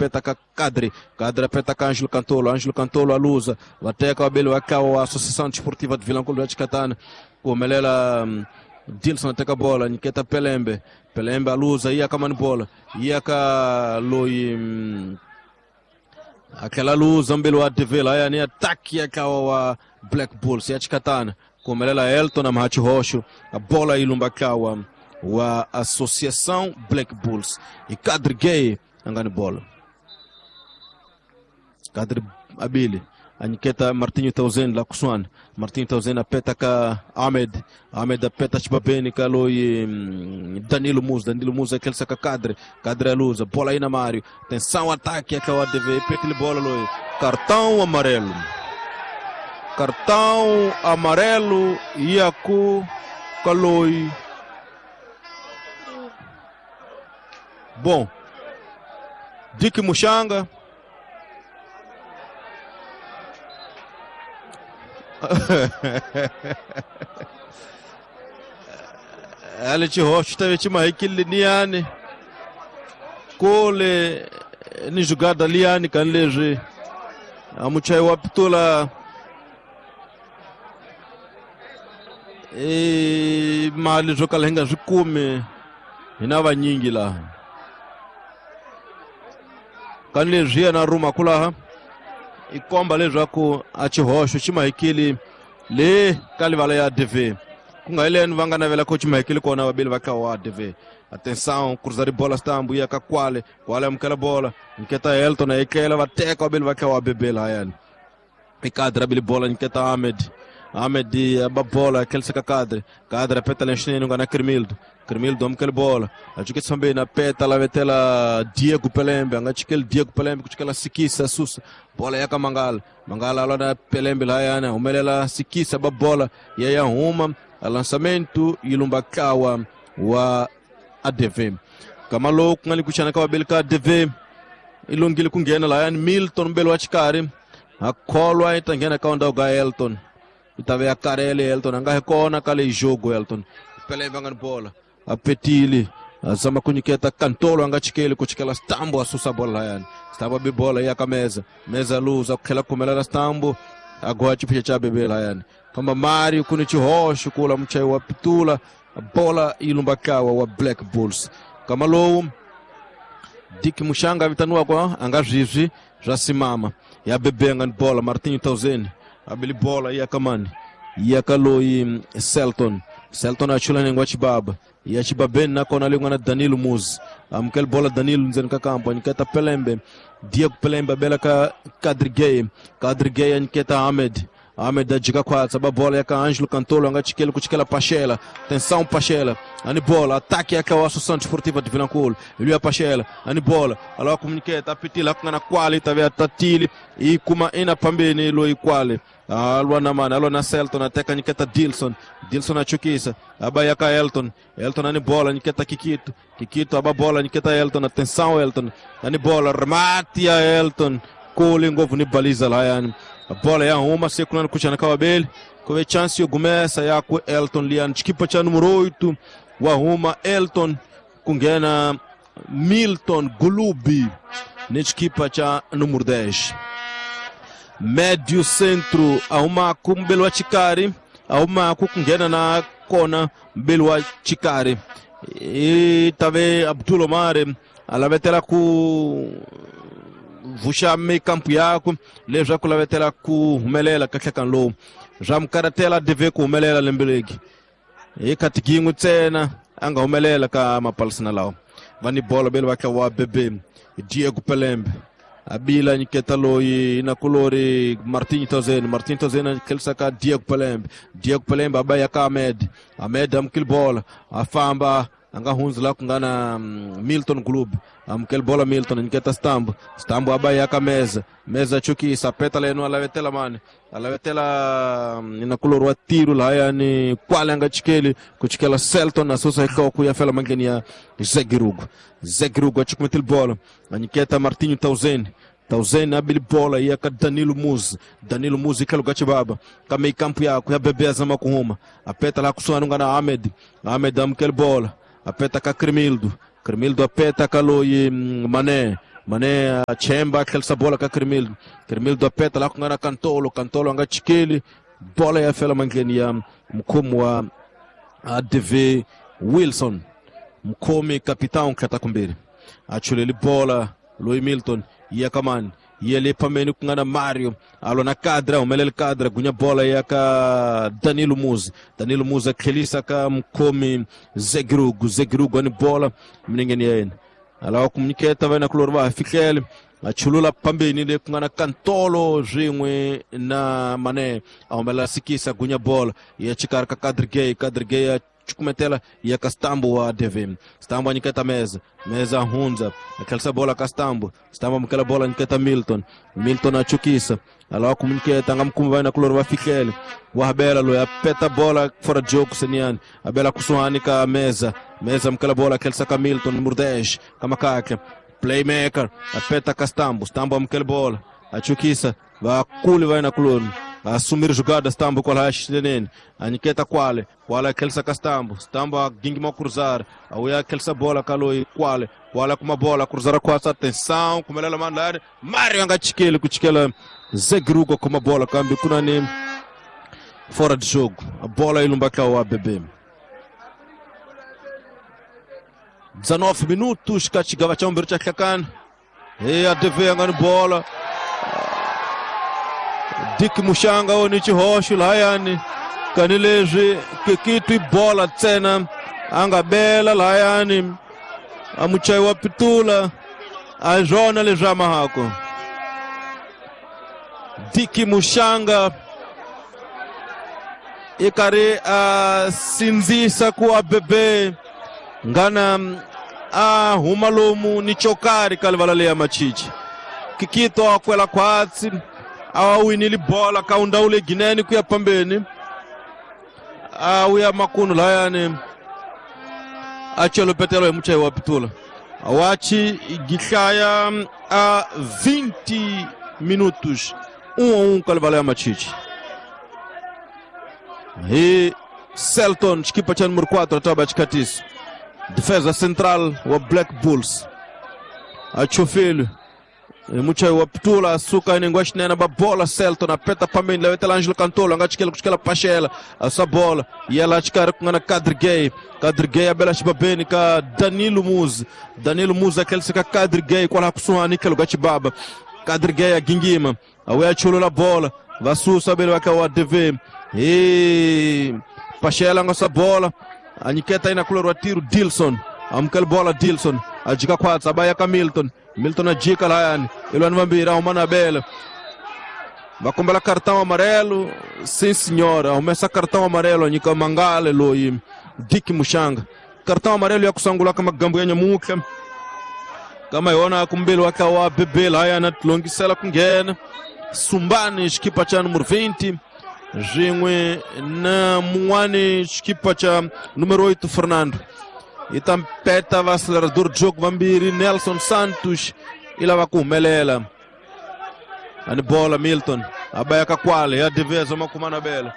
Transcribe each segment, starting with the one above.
apeta ka Kadri, Kadri apeta ka Ângelo Cantolo, Ângelo Cantolo aluza, vateka wabeli wakawa wa Associação Desportiva de Vilanculo ya Chikatana, kumelela Dilson ateka bola, nyiketa Pelembe, Pelembe aluza, iya kama ni bola, iya ka loi aquela luza mbele wa TV lá yani ataque akawa wa Black Bulls ya Chikatana, kumelela Elton na Mahachi Rocho, a bola ilumba kawa wa Associação Black Bulls e Kadri Gay angani bola Kadri Abili aniketa Martinho Tauzen la kusuana Martinho Tauzen apeta ka Ahmed, Ahmed apeta Chibabeni kaloi Danilo Musa, Danilo Musa aquele saca Kadri, Kadri aluza, bola aí na Mário, atenção ataque aquela ADV, petele bola loi, cartão amarelo, cartão amarelo Iaku kaloi. Bom, Dick Muxanga ale Rocha teve timahikile niani kole ni jugada liani kan leswi amuchai wa pitola e mali swo kala hi nga swi kumi hi na vanyingi laha kan leswi yena ruma kulaha i komba leswaku a xihoxo xi mahikile le ka livala ya DV ku nga hileni va nga navela ku xi mahikile kona vabili va ka wa DV. Atenção, cruzar de bola stambo ia ka Kwale, Kwale amukela bola, nketa Elton a ekela va teka vabili va ka wa BB lahayani. I Kadri abili bola nketa Ahmed, Ahmed aba bola aquele ka Kadri, Kadri apeta lenxinene nga na Cremildo, Cremildo amukela bola, ajuke sambe na peta la vetela Diego Pelembe, anga chikele Diego Pelembe kuchikela Sikisa Susa, bola yaka Mangala, Mangala alona Pelembe lahayana, umelela Sikisa ba bola yaya huma, lançamento ilumbakawa wa ADV. Kamalo kungali kuchana ka wabelika ADV ilungile kungena lahayani Milton mbele wa chikari akholwa itangena ka ndau ga Elton. Itave ya Karele Elton anga kona kale jogo Elton. Pelembe anga bola apetili azama kunyiketa Cantolo anga chikele kuchikela Stambo asusa bola yani. Stambo bi bola ya kameza meza luza kukhela kumela Stambo agora chipicha cha bebe la yani. Kamba Mário kuni chihoxo kula mchai wa pitula bola ilumbakawa wa Black Bulls. Kamalo Dick Muxanga vitanua kwa anga zwizwi zwa simama ya bebe anga bola Martinho Tauzen abili bola ya kamani ya kaloi Selton, Selton achula nengwa chibaba ya chibabeni na kona lingwa na Danilo Muzi amkel bola Danilo nzeni kakampo nketa Pelembe, Diego Pelembe bela ka Kadri Gay, Kadri Gay nketa Ahmed, Ahmed ajika kwatsa ba bola ya ka Ângelo Cantolo anga chikele kuchikela Pachela, tensão Pachela, ani bola ataque ya ka Associação Desportiva de Vilanculo, ele ya Pachela, ani bola aloa comuniqueta apitila kungana kwale tavia tatili e kuma ina pambeni lo ikwale alwa na mana alwa na Selton ateka nyiketa Dilson, Dilson achukisa aba ka Elton, Elton ani bola nyiketa Kikito, Kikito aba bola nyiketa Elton, atenção Elton ani bola remate ya Elton kule ngovu ni baliza la yani a bola ya uma sekunana kuchana kawabeli kove chance yo gumesa ya ku Elton lian chikipa cha número 8 wa huma Elton kungena Milton Gulubi ni chikipa cha número 10 médio centro ahuma kumbelo wa chikari ahuma kungena na kona mbelo wa chikari e tave Abdul Omar alavetela ku vuxa meio-campo yako leswaku lavetela ku humelela kahlekani lowu swa mukaratela DV ku humelela lembe legi hi khatigingwe ntsena a nga humelela ka mapalisana lawa va ni bolo bele va wa bebe Diego Pelembe abila nyiketa loyi na kulori Martinho Tauzen, Martinho Tauzen akhelisa ka Diego Pelembe, Diego Pelembe abaya ka Ahmed, Ahmed amukile bola afamba anga hunzi la kungana Milton Club amkel bola Milton nketa Stambo, Stambo abaya ka meza, meza chukisa peta leno alavetela mane alavetela inakulorwa tiro la yani kwale anga chikeli kuchikela Selton na sosa ikawa kuyafela mangeni ya Zegirugo, Zegirugo achikumetil bola aniketa Martinho Tauzen, Tauzen abili bola ya ka Danilo Muzi, Danilo Muzi kaluga chibaba ka meio campo yako ya bebe azama kuhuma apeta la kusuana ngana Ahmed, Ahmed amkel bola apeta ka Cremildo, Cremildo apeta ka loi Mané, Mané a chemba a tlherisa bola ka Crimildo. Crimildo a peta laha ku nga na Kantolo. Kantolo a nga chikeli bola ya fela mandleni ya mukhomi wa ADV Wilson. Mukhomi capitão tlheta kumbirhi a chuleli bola loyi Milton ya ka mani ya le phameni ku nga na Mario a lwa na Kadra, humelele Kadra gunya bola ya ka Danilo Muzi. Danilo Muzi a tlhelisa ka mukhomi Zegrugu. Zegrugu ani bola minengeni ya yena a lava ku nyiketa va yena kulori va ha fihlele a chulula phambeni le ku nga na Kantolo swin'we na Mane a humelela Sikisa gunya bola ya xikarhi ka Kadrigay. Kadrigay a cukumetela ya ka Stambo wa ADV. Stambo a nyiketa Meza. Meza hundza a tlherisa bola ka Stambo. Stambo amukela bola a nyiketa Milton. Milton a chukisa a lava ku nyiketa a nga mukumi va yena kulori va fihlele wa habela loyi a peta bola fora jogo seniani a bela kusuhani ka Meza. Meza amukela bola a tlherisa ka Milton Murdesh ka Makakla playmaker a peta ka Stambo. Stambo amukela bola a chukisa vakuli va yena kulori assumir jogada Stambo kwala xinene a nyiketa kwale kwale a ka Stambo. Stambo a gingima cruzar a uya a bola ka loyi kwale kwale kuma bola cruzar kwatsa atenção kumelela mandlani Mario a nga chikeli ku chikela Zegrugo kuma bola kambe kuna ni fora de jogo a bola yi lumba ka wa BB. 19 minutos ka xigava xa vumbirhi xa hlakani hi ADV a nga ni bola. Dick Mushanga o ni xihoxo lahayani kani leswi kikitwi bola ntsena a nga bela lahayani a muchayi wa pitula a hi swona leswi a mahako. Dick Mushanga i karhi a sindzisa ku a bebe ngana a huma lomu ni chokari ka livala leya machichi. Kikito a kwela khwatsi a winile bola ka undawule ginene ku ya phambeni a wuya makunu layani a chelopetelo hi muchayi wa pitula wachi gihlaya a 20 minutos 1-1 ka livala ya machichi hi Selton xikipa cha número 4 ataba xikhatisi defesa central wa Black Bulls a chofile muchayi wa pitula suka inengwa xinene ba bola Selton a peta phambeni lavetela Angelo Kantolo a nga chikela ku chikela Pachela a sa bola yela xikarhi ku nga na Kadrigay. Kadrigay a bela xibabeni ka Danilo Muzi. Danilo Muzi a tlherisa ka Kadrigay kwalaha kusuhani tlhelo ka xibaba. Kadrigay a gingima a wuya chulula bola va susa bele va ka wa ADV hi Pachela a nga sa bola a nyiketa ina kulori wa tiro Dilson amukela bola Dilson a jika khwatsa a ba ya ka Milton. Milton a jika lahayani ilwani vambirhi a huma na bela va kombela cartão amarelo. Sim senhora, humesa cartão amarelo a nyika Mangale loyi Dick Mushanga. Cartão amarelo ya ku sungula ka magambu ya nyamutlha kama yona kumbeli wa ka wa BB lahayani a tilongisela ku nghena Sumbani xikipa cha número 20 swin'we na mun'wani xikipa cha número 8 Fernando. I ta mpeta va acelerador de jogo vambirhi Nelson Santos i lava ku humelela ani bola Milton a ba ya ka kwale ya deveza makuma na bela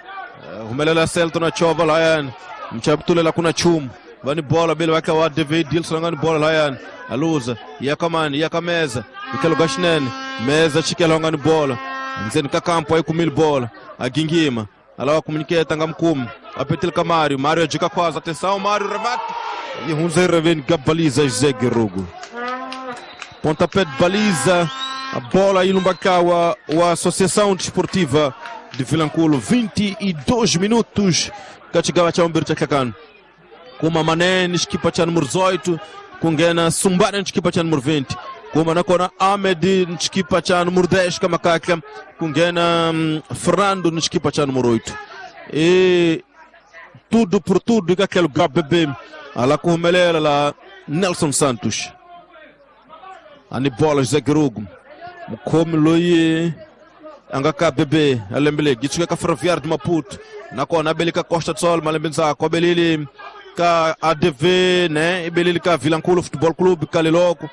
humelela Selton a chova lahayani mchapitulela kuna chumu va ni bola bele va ka wa ADV Dilson nga ni bola lahayani a luza ya ka mani ya ka Meza ikelo ga xinene Meza chikela nga ni bola ndzeni ka kampo a yi kumile bola a gingima a lava ku nyiketa nga mukumi a petile ka Mario. Mario a jika khwaza atenção Mario remate e hundza reveni ka baliza Zegrugo. Pontapé de baliza a bola aí no Bacau a Associação Desportiva de Vilanculo. 22 minutos ka xigava xa vumbirhi xa hlakani kuma Manene xikipa xa número 18 ku nghena Sumbane xikipa xa número 20 kuma nakona Ahmed xikipa xa número 10 ka Makakla ku nghena Fernando xikipa xa número 8 e tudo por tudo ka tlhelo ga BB ala ku humelela la Nelson Santos ani bola Zegrugo mukhomi loyi a nga ka BB a lembe leri yi suka ka Ferroviário de Maputo nakona a bele ka Costa do Sol malembe ndzhaku a belile ka ADV ne i belile ka Vilanculo Futebol Clube ka leloko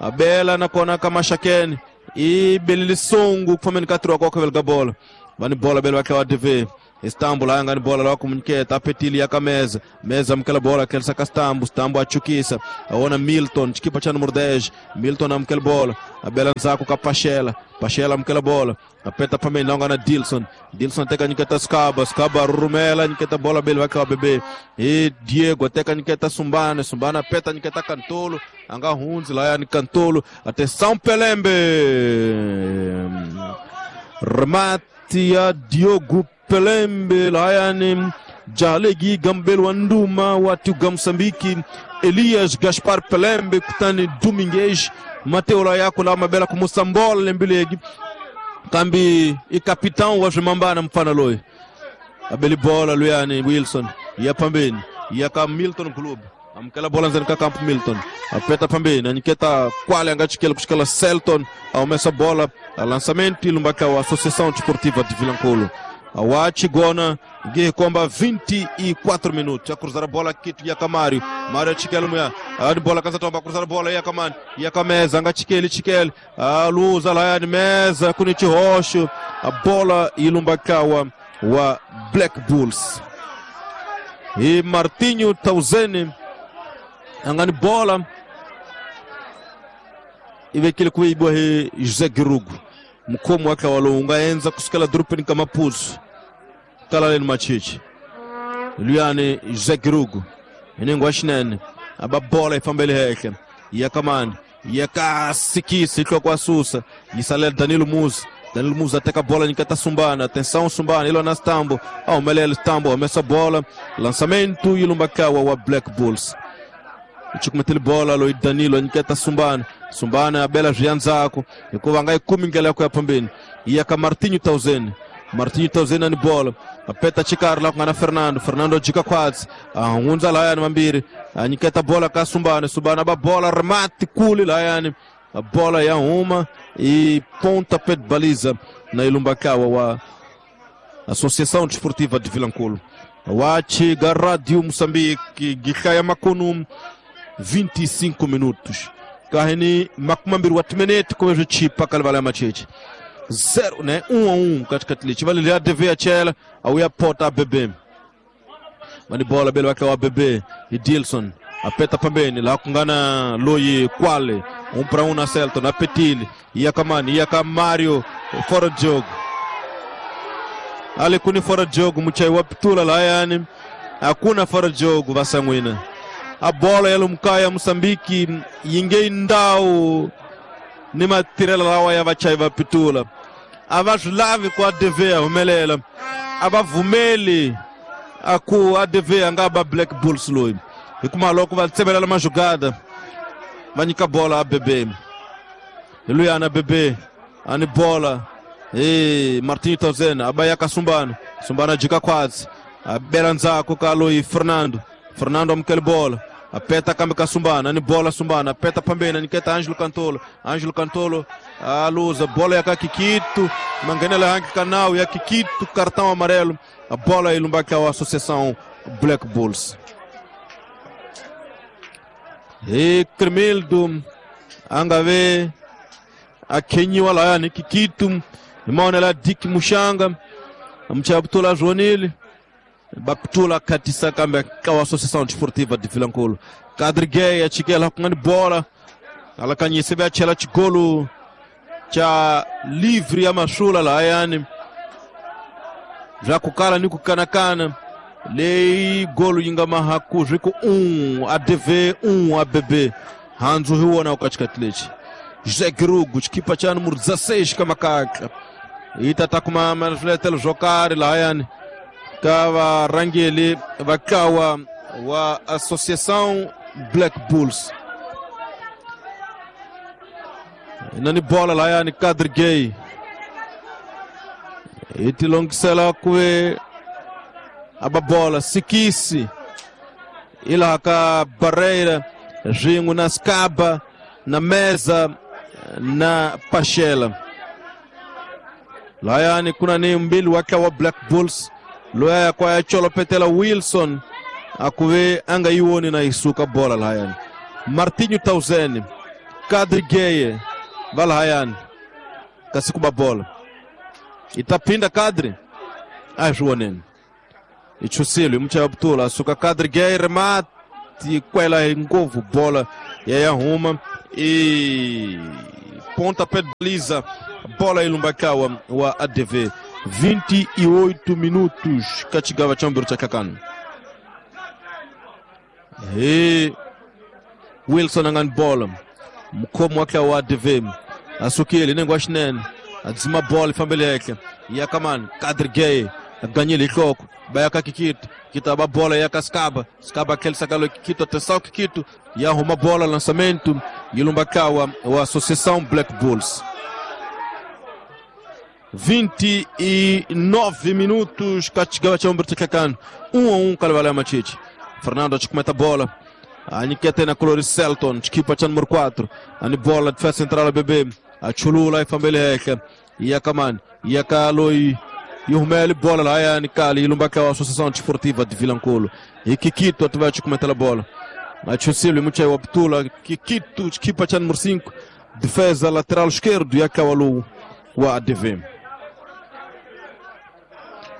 a bela nakona ka Maxakene i belile Songo ku fambeni ka tiro wa koka vele ka bola va ni bola bele va tlhela ADV Stambo la yanga ni bola la kumunyiketa apetili ya kameza meza amukela bola kelsa ka Stambo. Stambo achukisa aona Milton chikipa cha número 10. Milton amukela bola abela nzako ka Pachela. Pachela amukela bola apeta pambeni longa na Dilson. Dilson teka nyiketa Skaba. Skaba rurumela nyiketa bola bele vaka bebe e Diego teka nyiketa Sumbana. Sumbana apeta nyiketa Cantolo anga hunzi la yani Cantolo. Atenção Pelembe, remate ya Diogo Pelembe layani Jalegi Gambelo Anduma watu Moçambique Elias Gaspar Pelembe kutani Domingues Mateo la yako la mabela kumusambola lembilegi kambi i capitão wa zvimambana mfana loyi abeli bola luyani Wilson ya pambeni ya ka Milton Club amukela bola ndzeni ka campo Milton apeta pambeni anyiketa kwale anga chikela kuchikela Selton aumesa bola a lançamento ilumbaka wa Associação Desportiva de Vilanculo awachigona ngikomba 24 minutos a cruzar a bola kitu ya Camário. Mário chikela muya a bola kanza tomba cruzar a bola ya Kamani ya Kameza anga chikele chikele a luza la ya meza kunichi roxo a bola ilumbakawa wa Black Bulls e Martinho Tauzene angani bola ivekile kuibwa he José Girugo mukhomo wake walonga enza kusukela dorobeni ka Maputo kalaleni machichi luyani José Girugo inengo xinene aba bola ifambele hehle ya Kamani ya kasikisi ihloko asusa yisalela Danilo Musa. Danilo Musa ateka bola nikata Sumbana. Atenção Sumbana ilo na Stambo aumelela Stambo amessa bola lançamento ilumbakawa wa Black Bulls ichikumetele bola lo Danilo nikata Sumbana. Sumbana abela zvianzako hikuva nga ikumi ndlela ya ku ya pambeni ya ka Martinho Tauzene. Martinho Tauzene ni bola apeta chikari la ku nga na Fernando. Fernando jika khwatsi ahundza layani mambiri anyiketa bola ka Sumbana. Sumbana ba bola remate kuli layani a bola ya huma e pontapé de baliza na ilumbakawa wa Associação Desportiva de Vilanculo wachiga Rádio Moçambique gikhaya makunu 25 minutos kaheni makumambiri wa timinete kuve chipa kalivala macheche 0 né 1-1 katikati lichi vale ya DV ya chela au ya pota bebe mani bola bele wake wa bebe e Dilson apeta pambeni la kungana loyi kwale 1-1 na Celton apetili ya Kamani ya Kamario fora de jogo ale kuni fora de jogo muchai wa pitula la yani hakuna fora de jogo vasangwina a bola ya lumkaya Moçambique yinge ndau ni matirela lawa ya vachai va pitula a va swi lavi ku ADV a humelela a va vumeli a ku ADV a nga ba Black Bulls loyi hikuva loko va tsevelela majugada va nyika bola a bebe hi luyana bebe ani bola e Martinho Tauzena a ba ya ka Sumbana. Sumbana jika khwatsi a bela ndzhaku ka loyi Fernando. Fernando amukele bola apeta kambe ka Sumbana ni bola Sumbana apeta pambeni niketa Ângelo Cantolo. Ângelo Cantolo aluza bola ya ka Kikito mangenela hangi kanau ya Kikito cartão amarelo a bola ilumbaka wa Associação Black Bulls e Cremildo angave akhenyiwa laya ni Kikito imaonela Dick Mushanga amchabutula Joanile baptula katisa kambe ka Associação Desportiva de Vilanculo Kadrigei achikela kungani bola alakanyise be achela chigolo cha livre ya mashula la yani ja kukala ni kukanakana leyi golo yinga mahaku zviku 1 ADV 1 ABB hanzu hiwona ukatikati lechi José Girugo chikipa cha número 16 kamakaka itata kuma zviletelo zvokari la yani ka varhangeli vakawa wa Associação Black Bulls nani bola layani Kadrigei itilongisela kuve aba bola sikisi ila ka Barreira ringo na Skaba na meza na Pachela layani kuna ni mbili wake wa Black Bulls loya kwa ya cholo petela Wilson akuve anga iwoni na isuka bola layani Martinho Tauzene Kadrigeye valhayani kasikuba bola itapinda Kadri azvioneni. Ichusilo muchaya butula suka Kadri Gay remate kwela hi ngopfu bola ya huma e pontapé de baliza, bola ilumbakawa wa ADV. 28 minutos kachigawa chambiro cha kakano. E Wilson angani bola mkhomo wake wa ADV asukile nengo ashinene adzima bola ifambele yake yakamani Kadri Gay aganyile ihloko bayaka Kikito kitaba bola yaka Skaba Skaba kelsa kalo Kikito atenção Kikito yarruma bola lançamento ilumbakawa wa Associação Black Bulls. 29 minutos kachigawa chambiro cha kakano 1-1 Kalevala Machichi. Fernando achikumeta bola anikete na colori Selton chikipa cha número 4 ani bola defesa central BB achulula ifambele yake yakamani yakaloi Yurmeli bola lá é Nicali Ilumbaka a Associação Desportiva de Vilanculo. E Kikito atuva chikumeta la bola. Achusilo mucha waptula Kikito chikipa cha número 5 defesa lateral esquerdo yakawalu wa ADV.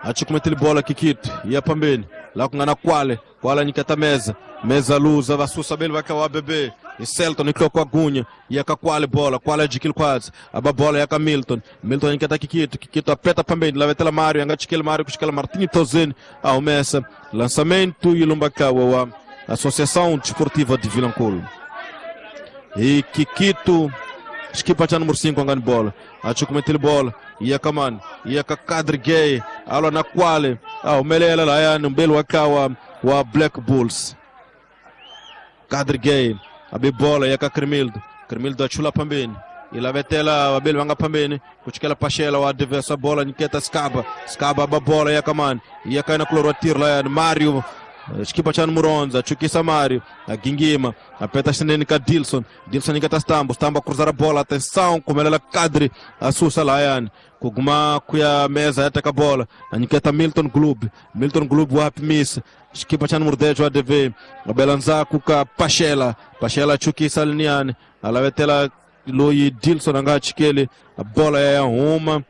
Achikumeta bola Kikito ya pambeni lá kungana Kwale Kwale nikata mesa mesa luza vasusa bele vakawa BB e Selton ikloko agunha yaka Kwale bola Kwale adquire quase a bola yaka Milton Milton nikata Kikito Kikito apeta pambeni lá vetela Mário anga chikele Mário kuchikela Martinho Tozeni ao mesa lançamento e Lumbakawa wa Associação Desportiva de Vilanculo. E Kikito equipa cha número 5 angani bola achukumetele bola yakamani yaka Kadri Gay alwa na Kwale au melela la yani mbele wakawa wa Black Bulls. Kadri Gay abe bola yaka Cremildo Cremildo achula pambeni ilavetela wabele wanga pambeni kuchikela Pachela wa adversa bola niketa Skaba Skaba aba bola yakamani yakaina kulorotir la yani Mario Chikipa cha número 11 achukisa Mário agingima apeta xinene ka Dilson Dilson nikata Stambo Stambo cruzar a bola atenção kumelela Kadri asusa la yani kuguma kuya mesa yataka bola aniketa Milton Glub Milton Glub wapimisa chikipa cha número 10 wa ADV abelanza kuka Pachela Pachela achukisa liniani alavetela Loi Dilson anga chikele a bola ya huma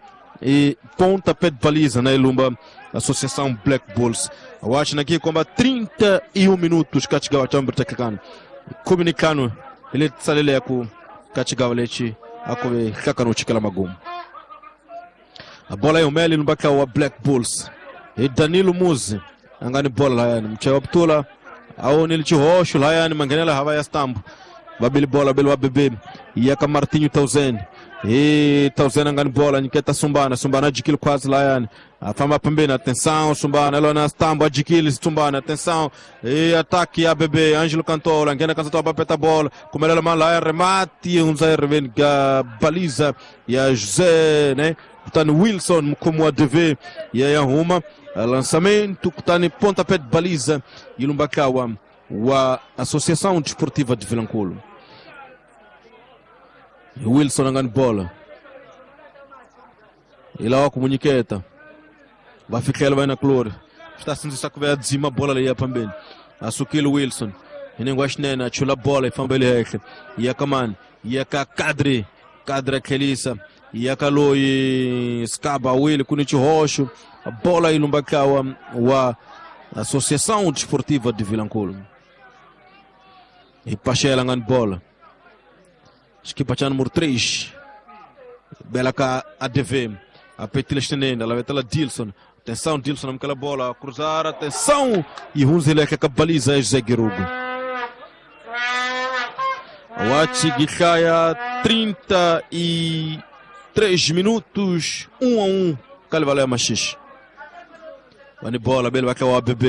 e pontapé de baliza na Ilumba Associação Black Bulls. Acho aqui com 31 minutos kachigawa chambiro cha kakano comunicano ele tsalele ku kachigawa lechi akove kakano chikala magumu. A bola é o Meli no baka wa Black Bulls. E Danilo Muzi angani bola la yani mchewa ptula au nili chihosho la yani mangenela hawa ya stambu babili bola bele wa bebe yaka Martinho Tauzen e Tauzen angani bola niketa Sumbana Sumbana adquire quase lá yani afamba pambeni atenção Sumbana ela na stambo adquire Sumbana atenção e ataque a bebê Ângelo Cantola ngena cantola bapeta bola kumelela mala remate um zero baliza ya José né kutani Wilson mkomo wa DV ya Yahuma lançamento kutani pontapé de baliza ilumbakawa wa Associação Desportiva de Vilanculo. Wilson angani bola ila kumunyiketa vafikela vai na clore está sendo saco dzima bola ali ya pambeni asukile Wilson inengo ashinene achula bola ifambele yake yakamani yaka Kadri Kadri Kelisa yakaloi Skaba Will kuni chihosho bola ilumbakawa wa Associação Desportiva de Vilanculo. E Pachela angani bola equipa cha número 3 bela ka ADV a petila xinene ela vetela Dilson atenção Dilson namkela bola cruzar atenção e Hunzile ka baliza José Guirugo. Wachi Gikaya 33 minutos 1-1 Kalevala Machixe. Vani bola bele vai o ABB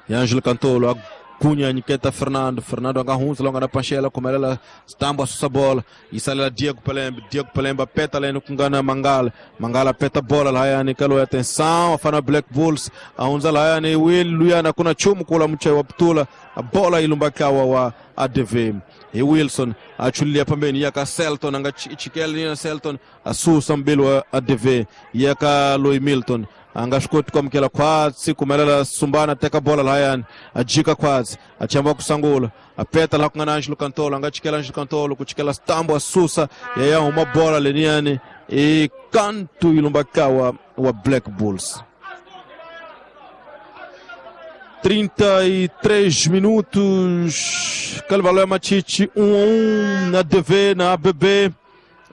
e Ângelo Cantolo Cunha Niketa Fernando Fernando agarra longa na Pachela como ela stamba sussa bola e sai lá Diego Pelembe Diego Pelembe apeta lá no Kungana Mangala Mangala apeta bola lá yani kalo atenção afana Black Bulls aunza lá yani Will Luyana kuna chumu kula mche wa ptula a bola ilumbakawa wa ADV e Wilson achulia pambeni yaka Selton anga chikele na Selton asusa mbele wa ADV yaka Loy Milton anga shkoti kwa mkela kwatsi kumelela Sumbana teka bola la yani ajika kwatsi achamba kusangula apeta la kungana Angelo Cantolo anga chikela Angelo Cantolo kuchikela stambo asusa yaya uma bola leniane e canto ilumbakawa wa Black Bulls. 33 minutos. Calvalé Machichi 1-1 na DV, na ABB.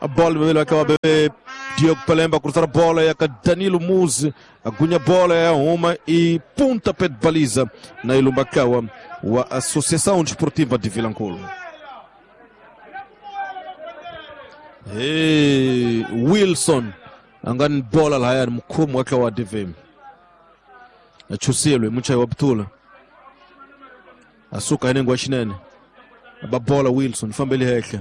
A bola que é o ABB. Diogo Pelemba cruzar a bola e a Danilo Muzi. Agunha bola é uma e pontapé de baliza na Ilumbakawa, a Associação Desportiva de Vilanculo. Hey, Wilson angani bola la yani mkhumu wake wa DV. Achusilwe muchayi wa Butula. Asuka inengwa xinene. Aba bola Wilson fambele hehla.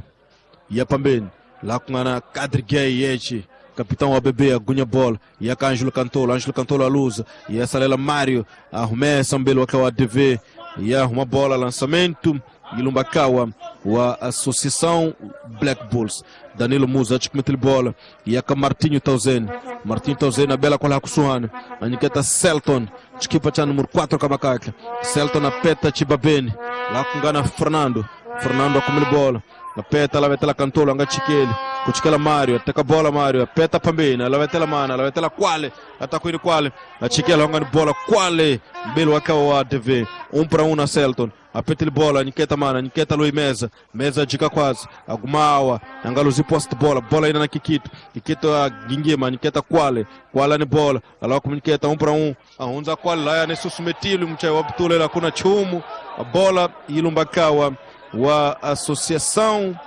Ya pambeni la ku nga na Kadri Yechi. Capitão ABB agunha bola. Ya ka Ângelo Cantolo, Ângelo Cantolo aluza. Ya salela Mário, arrumessa mbelo wake wa DV. Ya arruma bola lançamento. Ilumbakawa wa Associação Black Bulls. Danilo Musa achikumete bola. Yaka Martinho Tauzene. Martinho Tauzene a bela kwa kusuhana. Aniketa Selton. Chikipa cha número 4 kamakaka. Selton apeta Chibabeni. La kungana Fernando. Fernando akumele bola. Apeta la vetela Cantolo anga chikele. Kuchikela Mário, ateka bola Mário, apeta pambeni, alavetela mana, alavetela Kwale, atakuiri Kwale, achikela anga ni bola Kwale, mbele wakawa wa DV. 1-1 na Selton. Apetele bola, niketa mana, niketa Lui Meza, Meza jika kwazi, agumawa, angaluzi post bola, bola ina na Kikito, Kikito a gingima, niketa Kwale, Kwale ni bola, alawa kuminiketa 1-1, ahunza Kwale, laya ni susumetili, mchai wa Butule, la kuna chumu, a bola Ilumbakawa wa Associação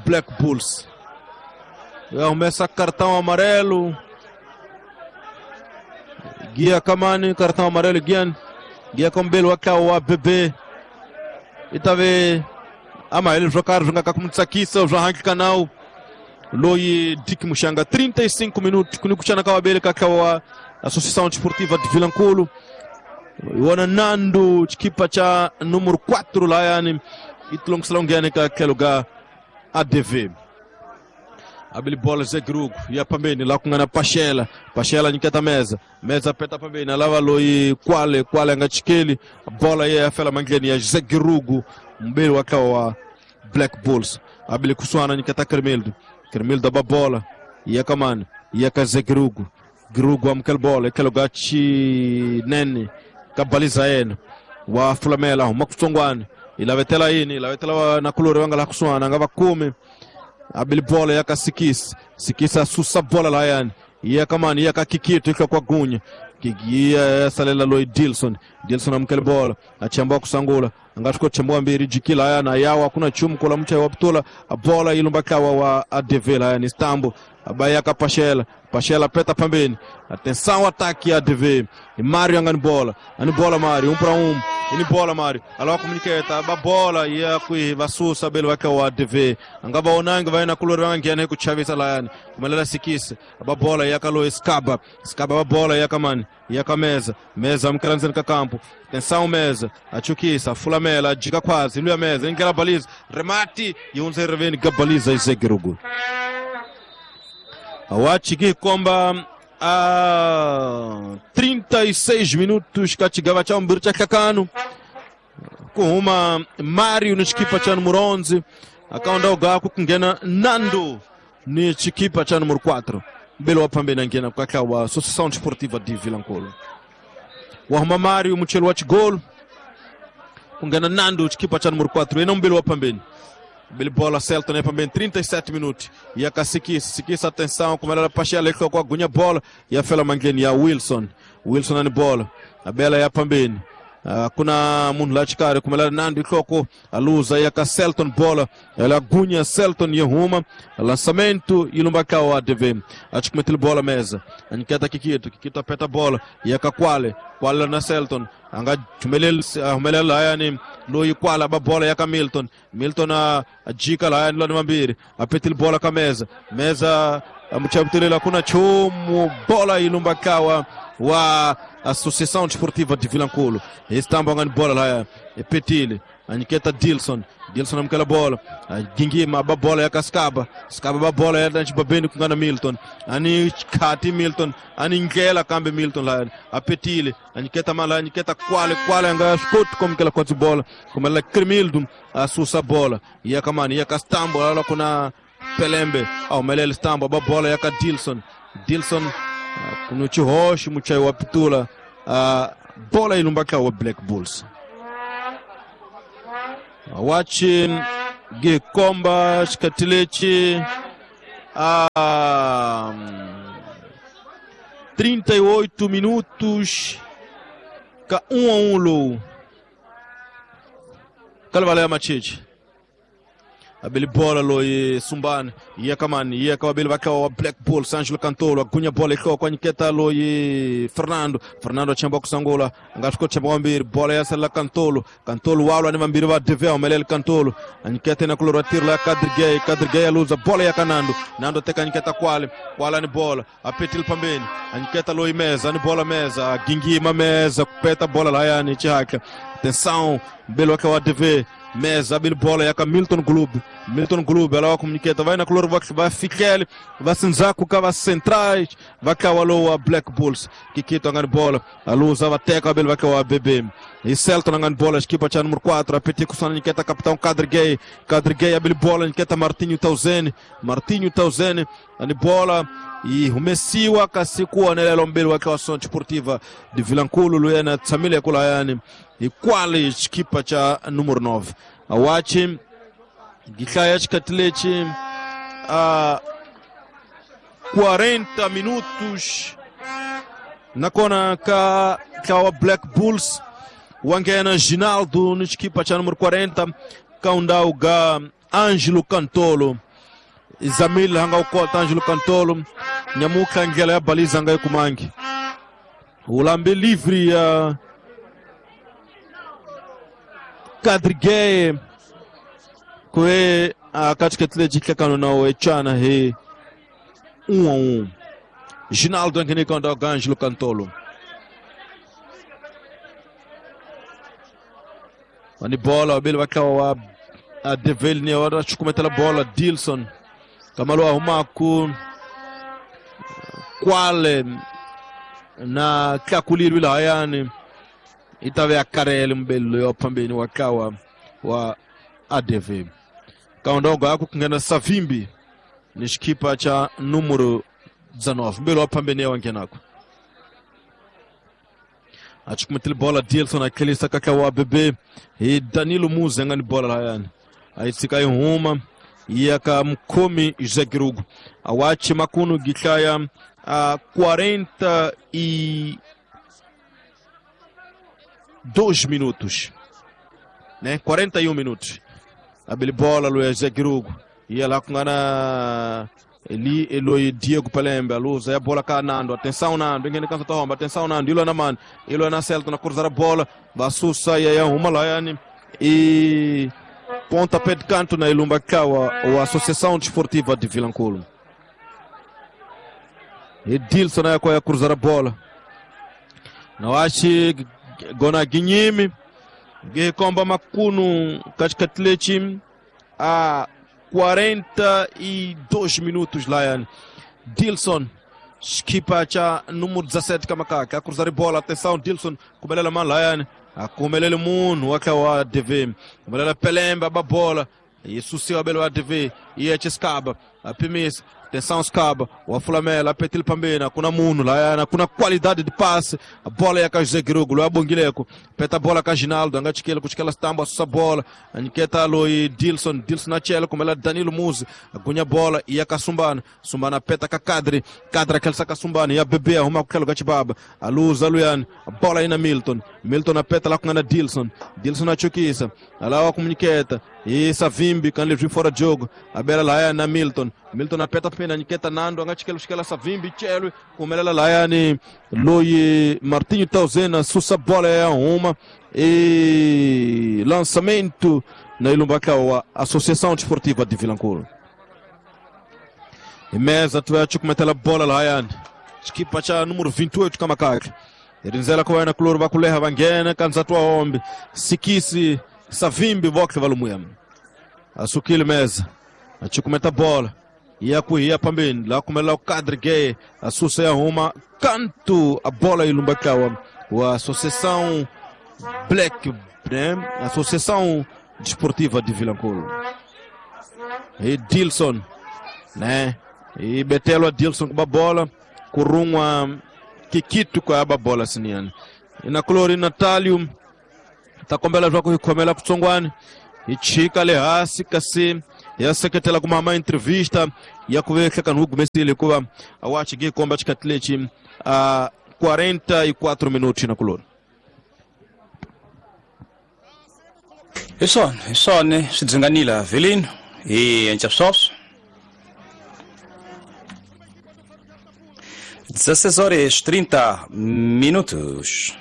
Black Bulls. Começa cartão amarelo. Guia Kamani, cartão amarelo guia. Guia Kombelo wa ABB. E talvez ama ele jogar jogar com mutsakisa, o Hank Canal. Loi Dick Muxanga 35 minutos kunikuchana kwa abele kakawa Associação Desportiva de Vilanculo. Iwana Nando chikipa cha número 4 lá yani itlongsalongiane ka keluga ADV. Abili bola Zé Grugo e a pambeni lá com a Pachela, Pachela niketa mesa, mesa peta pambeni lava loi Kwale, Kwale ngachikeli, bola ye afela mangeni ya Zé Grugo mbele wakawa Black Bulls. Abili kuswana niketa Kermildo, Kermildo ba bola e a kamani e a Zé Grugo, Grugo amkel bola keluga chi nene kabaliza yena wa fulamela makutsongwane ilavetela yini ilavetela na kulori wanga la kuswana ngava kumi abili bola yaka sikisi sikisa susa bola la yani yakamani yaka Kikito ikwa kwa gunya kigia salela Lloyd Dilson Dilson amkele bola achambua kusangula angatuko chambua mbiri jikila yana yawa kuna chumu kola mcha wa Butula bola ilumbakawa wa ADV la yani Istanbul abayaka Pachela Pachela peta pambeni atenção ataque ADV e Mário angani bola ani bola Mário 1-1 ini bola Mário alawa komuniketa aba bola ya kui vasusa belo waka wa ADV angaba onanga vai na kulori wangiana kuchavisa la yani kumelela sikisi aba bola ya kalo Skaba Skaba aba bola ya kamani ya kameza meza mkalanzeni kakampo atenção meza achukisa fulamela jika kwazi luya meza ingela baliza remati yunze reveni gabaliza isegerugu awachiki komba a 36 minutos katigava cha mbiri cha kakano kuhuma Mário ni chikipa cha número 11 akaunda ugaku kungena Nando ni chikipa cha número 4 mbele wapambena ngena kwa Associação Desportiva de Vilanculo wahuma Mário muchelo wa chigolo kungena Nando chikipa cha número 4 ena mbele wapambeni Bele bola Celton é também 37 minutos. E a Sikisa, Sikisa atenção, como ela Pachela com a gunya bola e a Fela Mangeni a Wilson. Wilson na bola. A bela é a pambeni. Kuna munhu la chikari kumela Nando ikoko a luz aí a Celton bola ela gunya Celton e ruma lançamento e Lumbacau ADV acho bola mesa aniketa Kikito Kikito apeta bola e a Kwale Kwale na Celton anga jumelela yani loyi Kwale ba bola ya Milton Milton a jika la yani lwa mambiri apetil bola ka mesa mesa amuchabutelela kuna chumu bola ilumbakawa wa Associação Desportiva de Vilanculo. Estamba ngani bola lá é Petile, aniketa Dilson, Dilson amkela bola, gingima ba bola ya Kaskaba, Skaba ba bola ya Babeni kungana Milton, ani Kati Milton, ani Ngela kambe Milton lá, a Petile, aniketa mala, aniketa Kwale, Kwale anga skot como que ela quase bola, como ela Cremildo, a susa bola, ya kamani, ya Kastambo, lá kuna Pelembe, ao Melele Stambo, ba bola ya Dilson, Dilson kunuchi hoshi muchai wa Pitula Bola yi lumba wa Black Bulls. Wachi gikomba xikati lexi a 38 minutos ka 1-1 lowu ka livala ya Machichi. Abeli bola loyi Sumbani ya kamani ya ka abeli vakawa wa Black Bulls. Angelo Cantolo agunya bola ihloko anyiketa loyi Fernando. Fernando achamba kusangula anga swi chamba wambiri bola ya sala Cantolo. Cantolo walwa ni vambiri va DV humelele Cantolo anyiketa na kulora tiro la Kadrigay. Kadrigay aluza bola ya Kanando. Nando teka anyiketa kwale kwala ni bola apetil pambeni anyiketa loyi meza ni bola meza gingima meza kupeta bola la yani chihaka. Atenção belo wa DV meza abili bola yaka Milton Clube. Milton Clube ela comuniceta vai na color vai Fiquel vai Sinzaku ka centrais vai kawaloa Black Bulls. Kikito angani bola a luz ava teka abili vai kawa BB e Celton angani bola equipa cha número 4 apeti kusana niketa capitão Kadrigay. Kadrigay abili bola niketa Martinho Tauzene. Martinho Tauzene ani bola e humesiwa kasi kuonelelo mbili wake wa Associação Desportiva de Vilankulo luyena tsamile kula yani ikwali equipa cha número 9 awachi gihlaya xikati a 40 minutos nakona ka wa Black Bulls wangena Ginaldo no equipa cha número 40 kaundau ga Angelo Cantolo. Zamil hanga ukota Angelo Cantolo nyamuka ngela ya baliza nga ikumangi ulambe livre ya Kadrigay kwe katika tlejikakano na wechana he 1-1. Ginaldo ngene konda Angelo Cantolo ani bola abele bakawa a Develni ora chukumetela bola Dilson kamalo ahumaku kwale na kakulirwi la yani itave akarele mbelo yo pambeni wakawa wa ADV kaondogo yako kungena Savimbi ni xikipa cha número 19 mbelo pambeni wangenako achukumetela bola Dilson akelisa kakawa BB e Danilo Muze ngani bola la yani aitsika ihuma yaka mkomi Zegirugo awachi makunu gihlaya a 42 minutos, né? 41 minutos. Abeli bola lo Zegirugo ia lá kungana eli Eloi Diego Palembe a luz a bola ka Nando. Atenção Nando, ninguém cansa tomba. Atenção Nando, ilo na man, ilo na Celta na cruzar a bola, basusa ya uma lá yani e pontapé de canto na Ilumba Kawa, a Associação Desportiva de Vilankulo. E Dilson aí a cruzar a bola. Não acho gona Guinhime, Guikomba Makuno Katikatlechi a 42 minutos lá. Dilson equipa cha número 17 Kamakaka a cruzar a bola. Atenção Dilson, kumelela man lá. Akumelele munhu wakawa ADV kumelela Pelembe aba bola isusiwa belo ADV iye Chescaba apimisa. Atenção Scaba wafulamela apetil pambena kuna munhu la kuna qualidade de passe a bola ya José Girugo lo abongileko peta bola ka Ginaldo angachikela kuchikela stambo asusa bola aniketa loi Dilson. Dilson achela kumela Danilo Muzi agunya bola iya Kasumbana. Sumbana peta ka Kadri. Kadri akelsa Kasumbana ya bebe arruma kukelo gachibaba aluza luyani a bola ina Milton. Milton apeta lá com Dilson. Dilson achukisa alawa kumuniketa e Savimbi kan livre fora de jogo a bela lá na Milton. Milton apeta pena niketa Nando angachikela shikela Savimbi chelo kumelela lá yani Loi Martinho Tauzena sussa bola é uma e lançamento na Ilumba a Associação Desportiva de Vilankulo. E mesa tu acho kumetela bola lá yani equipa cha número 28 Kamakaka Rinzela kwa na kulor bakuleha vangena kanza tua ombi sikisi Savimbi bokle valumuya asukile meza achukumeta bola ia kuia pambeni lá kumela o Kadrigay asusa ya uma canto a bola Ilumbakawa wa Associação Black, né? Associação Desportiva de Vilankulo. E Dilson, né? E Betelo a Dilson com a bola, Kurunwa Kikito com a bola siniana. Inakulori Natalio ta kombela leswaku hi khomela kutsongwani hi chika le hansi kasi hi ya seketela ku mama entrevista ya ku ve hlekani wu gumesile hikuva a wa chige komba xikhathi lexi a 44 minuti nakulori. Hi swona, hi swona swi dzinganile Velino hi endla sweswo. 16 horas 30 minutos.